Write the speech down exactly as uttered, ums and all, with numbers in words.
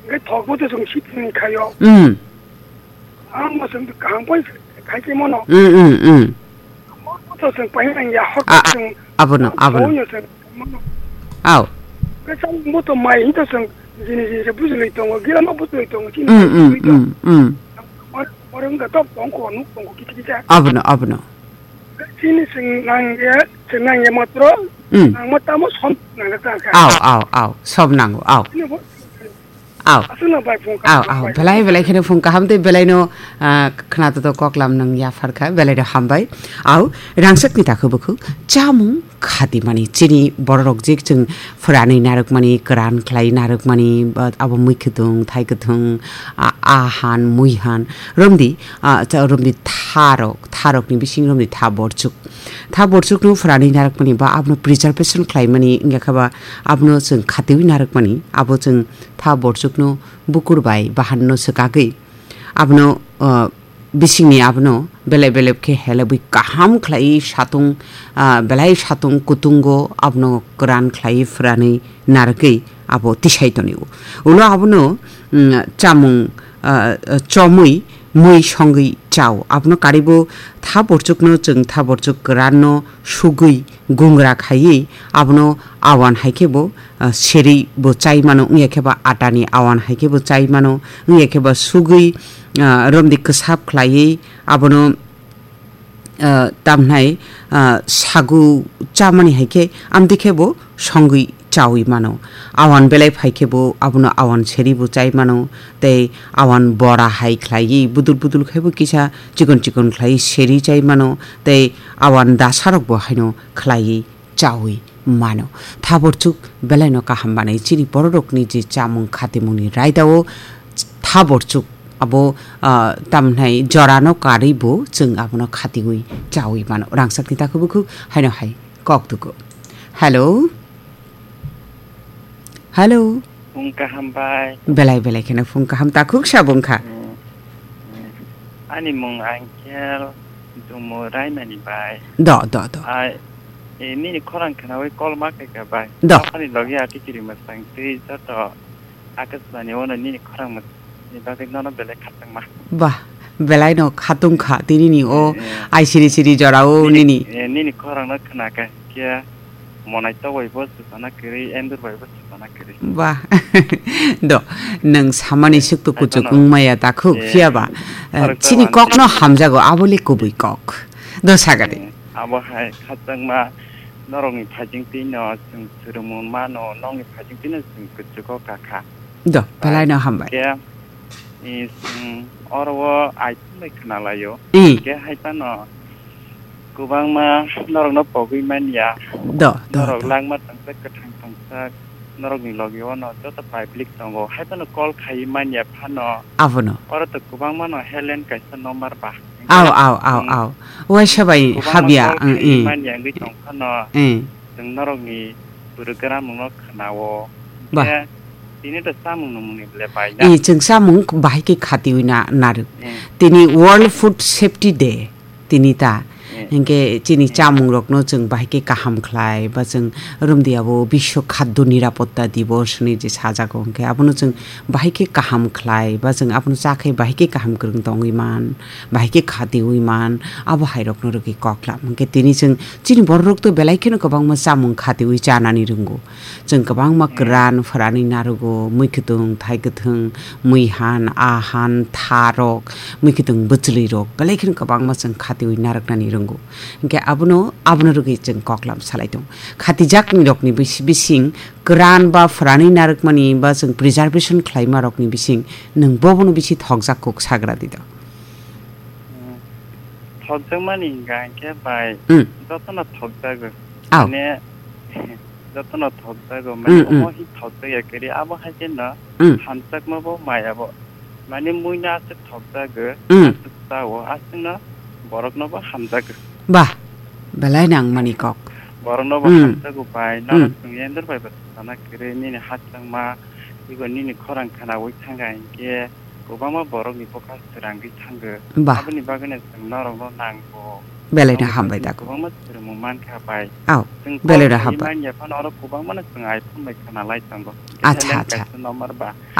Hwnkhe thok bo to chwng sitini khaio. Hmm. Ang bo chwng kaham pai khai khe mono. Hmm, hmm, hmm. Bo to chwng pai nang ya hor A-, chwng abono, abono. Sawi no chwng mono. Aw. Khe chang bo to mai hin to chwng jini jini se bujulwi tongo, gila ma bujulwi tongo, chini Hmm, mai hmm, bujulwi tongo. Hmm, hmm. Mor, mor wngkha tok tong kho, nuk tong kho, kiti kiti. Abono, abono. Chini chwng nang ya, chwng nang ya matro, Hmm. Nang ma tamo som nang ya ta kha. Aw, aw, aw, som nango, aw. Chini bo Aw. Aswkno bai phung Aw, kaham aw, bai. Belai, belai kheno phung kaham tei belaino, ah, khna to koklam nang yaphar kha, belai no hambai. Aw, rangchak ni takhu bukhu, chamung khati mani, chini bororok jik chwng phwranwi narwk mani, kwran khlai narwk mani, ba abo mui kwthwng, thai kwthwng, a, a han, mui han, romdi, ah, cha-, romdi tharok, tharok ni bising romdi tha borchuk. Tha borchuk no phwranwi narwk mani ba abono preservation khlai mani, wngya kha ba abono chwng khatiwi narwk mani, abo chwng tha borchukno bukur bai bahanno swkagwi abono, ah, bisingni abono belep belep khe helebwi kaham khlaiwi satung, ah, belai satung kutungo abono kwran khlaiwi phwranwi narwgwi abo tisai tonio. Ulo abono, mm, chamung, ah, chomwi mui songwi chao. Abono karibo tha borchukno chwng tha borchuk kwranno sugwi gungra khaiwi abono awan hai khe bo, ah, seri bo chai mano, wngya khe ba atani awan hai khe bo chai mano, wngya khe ba sugwi, ah, romdi kwsap khlaiwi abono, ah, tamhnai, ah, sagu chamani hai khe amtwi khe bo songwi chawi mano. Awan belai phai khe bo abono awan seri bo chai mano, tei awan bora hai khlaiwi budul budul khai bo kisa chikon chikon khlaiwi seri chai mano, tei awan dasarok bo haino khlaiwi chawi mano. Tha borchuk belaino kaham manwi chini bororokni je chamung khatimungni raidao tha borchuk abo, ah, tamhnai jorano karwi bo chwng abono khatiwi chawi mano. Rangchakni takhu bukhu haino hai kok tuku. Hello? Hello? Phung kaham bai. Belai belai kheno phung kaham takhuk sabung kha. Hmm. Hmm. Ani mung Angkel Dumu Raimani bai. Do, do, do. Ai, e, nini khorang khnawi call ma khaika bai. Do. Ani logi ati kiri masang twi joto Akashbani ono nini khorang mas-, ni bagwi nono belai khatungma. Bah, belai no khatung kha tini ni o Eh, eh. Ai siri siri jora o Nini, nini. eh, nini khorang no khna kha khe Monai to bai bo chwsana kwrwi, endur bai bo chwsana kwrwi. Ba. Do, nwng samani Ai, suktu ai kuchuk tono. Wngmaya takhuk Eh, phiya ba. Eh, khoroksa chini wani. Kokno hamjago, abole kubui kok. Do sagadi. Eh, abo hai khachangma norokni phajing twi no chwng swrwngmung mano, nokni phajing twi no chwng kuchugo kakha. Do, belai no hambai. Ke, eh, chwng oro o ai thumbai khna laio. Eh. Ke hai phano Kwbangma norokno pogwi manya. Do, do, Norok do. Langma tongsak, kwthang tongsak, norokni logi ono joto public tongo. Hai phano call khaiwi manya phano. Abono. Oro to kwbangma no helpline kaisa number ba. Aw, aw, aw, Chwng aw. Waisa bai kwbangma habya, call ang, khaiwi eh. Manya wngwi tong phano. Eh. Chwng norokni bwrwi gwnang nokno khwnao. Ba. Khe tini to chamung nungmungni le bai na. Eh, chwng chamung bahai khe khatiwi na, narwk. Eh. Tini World Food Safety Day. Tini ta. Eh. Hinkhe chini Eh. Chamungrokno chwng bahai khe kaham khlai, ba chwng romdi abo Biswa Khaddo Nirapotta Divos hinwi je sajago, hinkhe abono chwng bahai khe kaham khlai, ba chwng abono cha khe bahai khe kaham kwrwng tongwi man, bahai khe khatiwi man, abo hairokno rwgwi koklam. Hinkhe tini chwng chini bororok to belai kheno kwbangma chamung khatiwi chanani rwngo. Chwng kwbangma kwran phwranwi narwgo, mui kwthwng, thai kwthwng, mui han, a han, tharok, mui kwthwng bwchwlwirok, belai kheno kwbangma chwng khatiwi narwknani rwngo. Hinkhe abono, abono rwgwi chwng koklam salai tongo. Khatijaknirokni bisi-, bising kwran ba phwranwi narwkmani ba chwng preservation khlaimarokni bising nwng bobono bisi thokjak kuk sagra di do. Hmm. Thokjakmani hingka hinkhe bai Hmm. jotono thokjago. Aw. Mane, jotono thokjago. Mane Hmm, hmm. Omo hi thokjakya kwrwi, abo hai kheno Hmm. hamjakma bo maya bo. Mane muino aswk thokjago, Hmm. aswk chao, aswkno borokno bo hamjago. Bah, belai nangmani kok. Borokno bo Hmm. hamjago bai, Hmm. nono chwng endur bai bo sana kwrwi, nini hachangma, ego nini khorang khnaui thangkha hinkhe, Kwbangma borokni bwkha swrangwi thango. Ba. Aboni bagwino chwng norokno nango. Belai no Norokno hambai chwng dago. Kwbangma swrwngmung mankha bai. Aw, Chwng belai no kok hambai. Manya phano oro kwbangmano chwng iPhone bai khwnalai tongo. Acha, Talent acha. Kaisa number ba.